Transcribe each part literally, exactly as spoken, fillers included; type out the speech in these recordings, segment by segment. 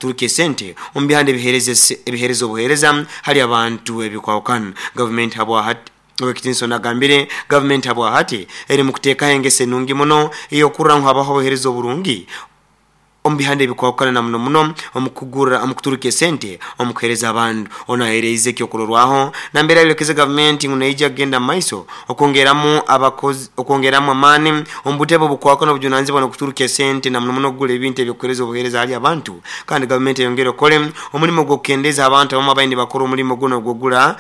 Omukuturuka esente omu bihanda ebihereza ebihereza obuhereza hali abantu ebikwawukana. Gavumenti habwa hati Owekitinso nagambire gavumenti habwa hati eri mu kuteekaho engeso enungi muno ey'okurora ngu habaho obuhereza oburungi omu bihanda ebikwawukana, na muno muno omukugura omukuturuka esente omukuhereza abantu. Ono ahereize ekyokurorwaho nambere ayolekeze gavumenti ngu neija kugenda mu maiso okwongeramu abakozi, okwongeramu amaani omu butebe obukwawukana obujunanizibwa n'okuturuka esente, na muno muno okugura ebintu ebyokuhereza obuhereza hali abantu. Kandi gavumenti eyongere okole omulimu ogw'okukendeeza abantu abamu abaine nibakora omulimu guno ogw'okugura,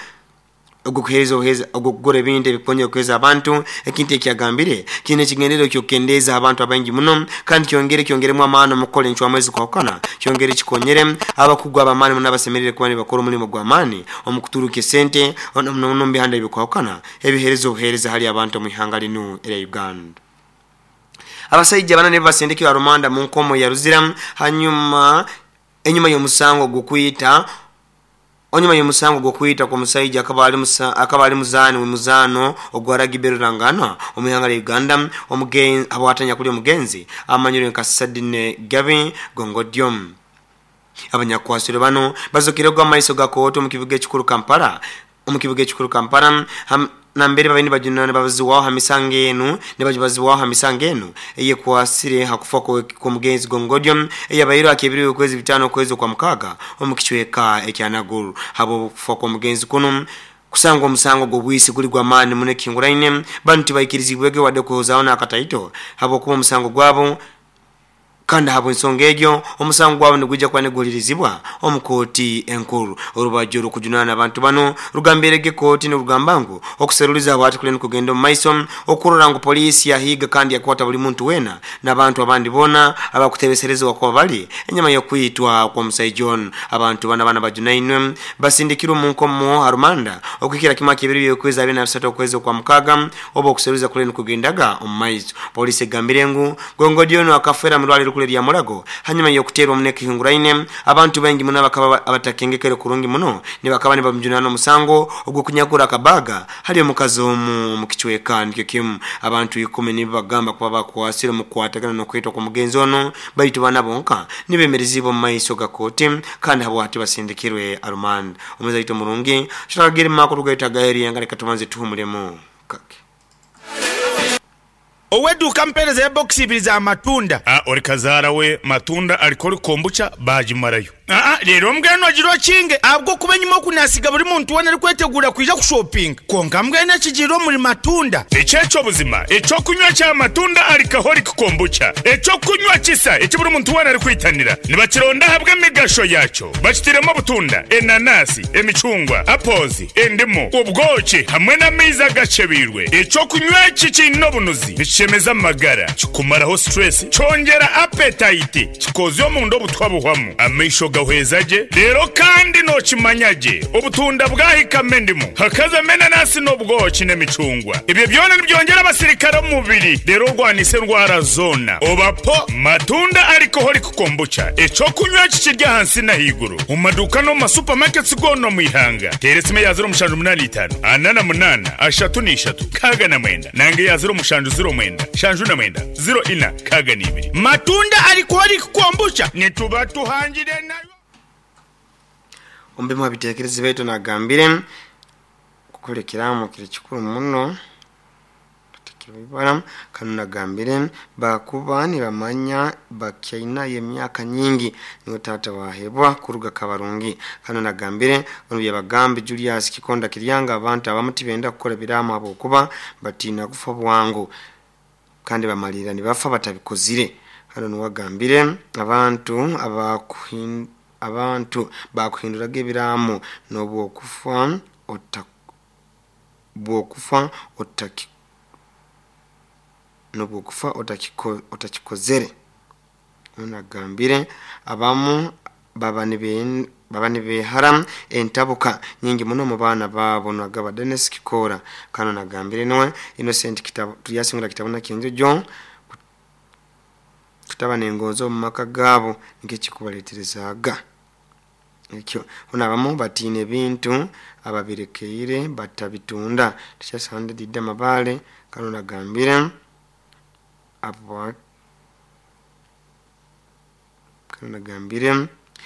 ogw'okuheereza obuheereza, ogw'okugura ebintu ebikukonyera okuheereza abantu, ekintu ekyagambire kiine ekigendererwa ky'okukendeeza abantu abaingi muno, kandi kyongere kyongeremu amaani omu kukora encwamu ezikwahukana, kyongere kikonyere abakugu ab'amaani muno abasemeriire kuba nibakora omulimu gw'amaani omu kuturuka esente muno muno omu bihanda ebikwahukana ebiheereza obuheereza hali abantu omu ihanga linu erya Uganda. Abasaija bana nibo basindikirwe arumanda mu nkomo ya Ruzira hanyuma enyuma y'omusango gw'okwita onyuma y'omusango gw'okwita kw'omusaija akaba ali musa, akaba ali muzaani w'emizaano ogwa rugby ruranganwa omu ihanga lya Uganda, omugenzi habwatanya kuli omugenzi amanyirwe nka Sadine Gabi Gongodyom. Abanyakwasirwe bano bazokere gwa maiso ga kooti omu kibuga ekikuru Kampala omu kibuga ekikuru Kampala ham, nambere babaire nibajunana nibabazibwaho ha misango enu nibajubazibwaho ha misango enu eyekwasire ha kufa kw'omugenzi Gongodyom eyabaire akebirwe okwezi bitaano okwezi okwa mukaaga omu kicweka ekya Naguru. Habw'okufa kw'omugenzi kunu kusangwa omusango gw'obwisi guli gw'amaani muno ekihinguraine, banu tibaikirizibwege wadde kwehozaaho n'akataito habwokuba omusango gwabo, kandi habw'ensonga egyo omusango gwabo nigwija kuba niguhulirizibwa omu kooti enkuru. Orubaju orukujunana abantu bano rugambirege kooti nirugamba ngu okuseruliza habwati kuli nikugenda omu maiso okurora ngu poliisi yahiiga kandi yakwata buli muntu weena n'abantu abandi boona abakutebeserezebwa kuba bali enyama y'okwitwa kw'omusaija onu. Abantu bana bana bajunainwe basindikirwe omu nkomo arumanda okuhikira kimu akebiro by'okwezi abiri na bisatu okwezi okwa mukaaga oba okuseruliza kuli nikugendaga omu maiso. Poliisi egambire ngu Gongodyonu akafeera mu rwaliro rukuru erya Mulago hanyuma y'okuteerwa muno ekihinguraine. Abantu baingi muno abakaba abatakengekere kurungi muno nibakaba nibamujunana omusango ogw'okunyakura akabaga hali omukazi omu omu kicweka nikyo kimu. Abantu ikumi nibo bagamba kuba bakwasire omu kukwatagana n'okwitwa kw'omugenzi ono, baitu bana bonka nibemerezibwa omu maiso ga kooti kandi habwati basindikirwe arumanda. Omuzaito waitu omurungi tutakagire mu makuru gaitu agaheryenga, leka tubanze tuhumulemu kake. Ow'edduuka mpeereza ya bokisi ibiri za matunda. Aa, ori kazaara we matunda alikoli kombucha baagimarayo. Aa, leero mbwenu ogira okinge ahabw'okuba enyima oku naasiga buri muntu weena arikwetegura kwija kushopinga. Kwonka mbwenu ekigiire omuri matunda. Eki eky'obuzima, eky'okunywa kya matunda alcoholic kombucha, eky'okunywa kisa eki buri muntu weena arikwitanira. Nibakironda ahabw'emigasho yakyo. Bakitiremu obutunda, enanasi, emicungwa, apples, endimu, obwoki hamwe n'amaizi agacebeirwe. Eky'okunywa eki kiine obunuzi, nikishemeza amagara, kikumaraho stress, kyongyera appetite, kikozya omunda obutwa buhwamu, amaisho gahweza gye, reero kandi nookimanya gye obutunda bwahikamu endimu, hakazamu enanasi n'obwoki n'emicungwa. Ebyo byona nibyongyera abasirikare omu mubiri, reero orwanise endwara zoona. Oba po matunda alcoholic kombucha, eky'okunywa eki kiri ahansi n'ahaiguru omu maduuka n'omu masupamaketi goona omu ihanga. Teera esimu eya ziro mushanju munaana itaano ana na munaana ashatu n'ishatu nkaaga na mwenda nanga eya ziro mushanju ziro mwenda shanju na mwenda ziro ina nkaaga n'ibiri. Matunda alcoholic kombucha nituba tuhangire nayo. Omu bimu ha biteekerezo baitu nagambire kukora ekiraamo kiri kikuru muno tutakibibara. Kanu nagambire bakuba nibamanya bakyainayo emyaka nyingi niwe taata wahebwa kuruga Kabarungi. Kanu nagambire ono byabagambi Julius Kikonda Kiryanga abantu abamu tibenda kukora ebiraamo habwokuba batiina kufa bwangu kandi bamalirira nibafa batabikozire. Hano niwagambire abantu abakuhin, abantu bakuhinduraga ebiraamo n'obwokufa ota bwokufa otaki n'obwokufa otakiko, otakikozere. Ono agambire abamu baba nibe baba nibehara entabuka nyingi muno mu baana baabo. Nagaba Dennis Kikora. Kano nagambire niwe Innocent Kitabo tuyasingura kitabo na Kyenjojo kutaba n'engonzi omu maka gaabo nikyo ekyo. Ono abamu batiina ebintu ababirekeire batabitunda tikyasande didde amabale. Kano nagambire abo kano nagambire